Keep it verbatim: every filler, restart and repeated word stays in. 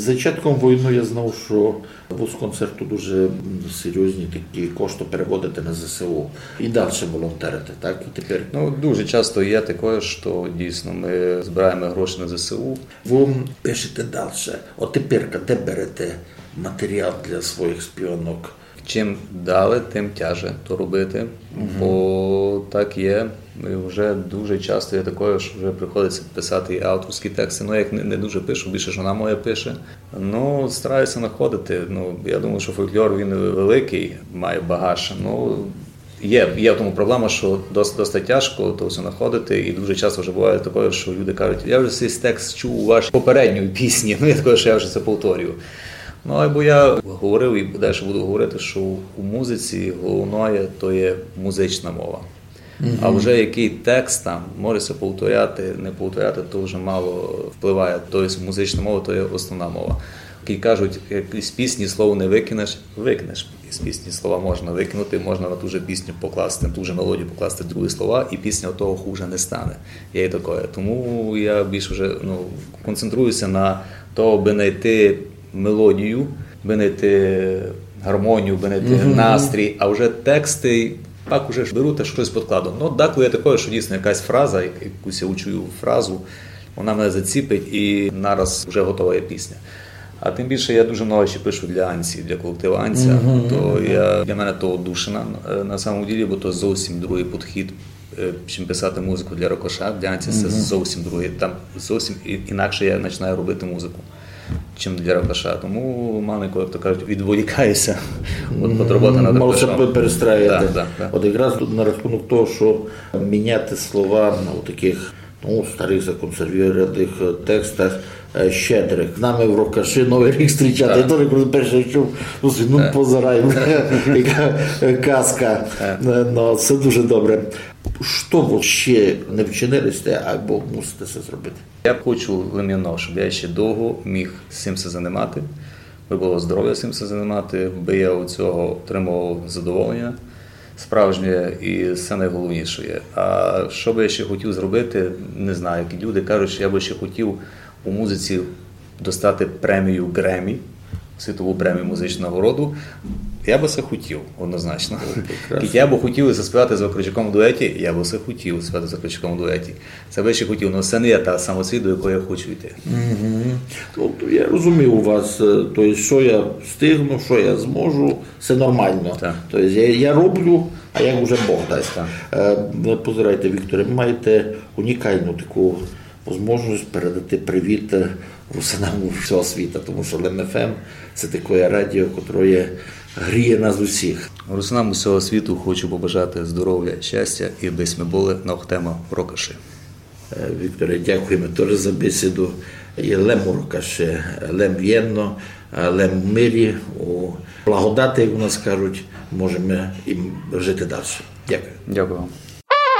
З зачатком войны я знав, што вы з концерту дуже, м, серйозні такі кошты переводите на З С У. І дальше волонтерите, так? І тепер Ну, дуже часто є таке, што дійсно ми збираємо гроші на З С У. Вы пишете дальше. От тепер, де берете матеріал для своїх співанок? Чим далі, тим тяже то робити, бо так є. І вже дуже часто є таке, що вже приходиться писати і авторські тексти. Ну, я їх не, не дуже пишу, більше жона моя пише. Ну, стараюся знаходити. Ну, я думаю, що фольклор, він великий, має багаж. Ну, є, є в тому проблема, що досить, досить тяжко то все знаходити, і дуже часто вже буває таке, що люди кажуть: «Я вже цей текст чув у вашій попередній пісні», ну, я таке, що я вже це повторюю. Ну, або я говорив і далі буду говорити, що у музиці головне то є музична мова. А вже який текст там, може ся повторяти, не повторяти, то вже мало впливає. Тобто музична мова то є основна мова. Як кажуть, як із пісні слово не викинеш, викинеш. Із пісні слова можна викинути, можна на ту же пісню покласти, на ту же мелодію покласти другі слова, і пісня від того хуже не стане. Є і таке. Тому я більше вже, ну, концентруюся на того, аби знайти мелодію, аби знайти гармонію, аби знайти настрій, а вже тексти пак уже ж беру та щось підкладу. Ну, деколи є таке, що дійсно якась фраза, як-, якусь я учую фразу, вона мене заціпить і нараз вже готова є пісня. А тим більше я дуже много ще пишу для Анці, для колективу Анця. То я, для мене то одушина, е, на самом ділі, бо то зовсім другий підхід, е, чим писати музику для Рокоша. Для Анці це зовсім другий. Там зовсім і-, інакше я починаю робити музику, чим для Рокоша. Тому маленько, як то кажуть, відволікаюся від, від роботи над Рокошом. Мало ся пе-, перестраювати. Так, так, так. От якраз тут на рахунок того, що міняти слова у таких, ну, старих законсервованих, е, текстах, е, щедрих. З нами в Рокоші Новий рік зустрічати. Так. Я теж, коли перше чув, ну, ну, позирай, яка, е, казка. Так. Е, ну, це дуже добре. Што вы ще не вчинили сте, або мусите це зробити? Я хочу лише єдно, щоб я ще довго міг цим ся займати, би було здоров'я цим ся займати, би я від цього отримував задоволення справжнє, і це найголовніше є. А що би я ще хотів зробити, не знаю. Як люди кажуть, що я би ще хотів у музиці достати премію Греммі, світову премію, музичну нагороду, я би це хотів, однозначно. О, прекрасно. Як я би хотів заспівати з Вакарчуком в дуеті, я би це хотів заспівати з Вакарчуком в дуеті. Це би ще хотів, але це не є та самоціль, до якої я хочу йти. Мгм. Тобто я розумію вас, е, то є, що я встигну, що я зможу, це нормально. Так. Тобто я, я роблю, а як уже Бог дасть. Так. Е, позирайте, Вікторе, ви маєте унікальну таку можливість передати привіт, е, русинам усього світа, тому що Лем Ф М — це таке радіо, котре гріє нас усіх. Русинам усього світу хочу побажати здоров'я, щастя і аби сьме були ногтема Рокоші. Е, Вікторе, дякуємо теж за бесіду. І лем у Рокоші, лем вєдно, е, лем в мирі, у благодати, як у нас кажуть, можемо і жити далі. Дякую. Дякую вам.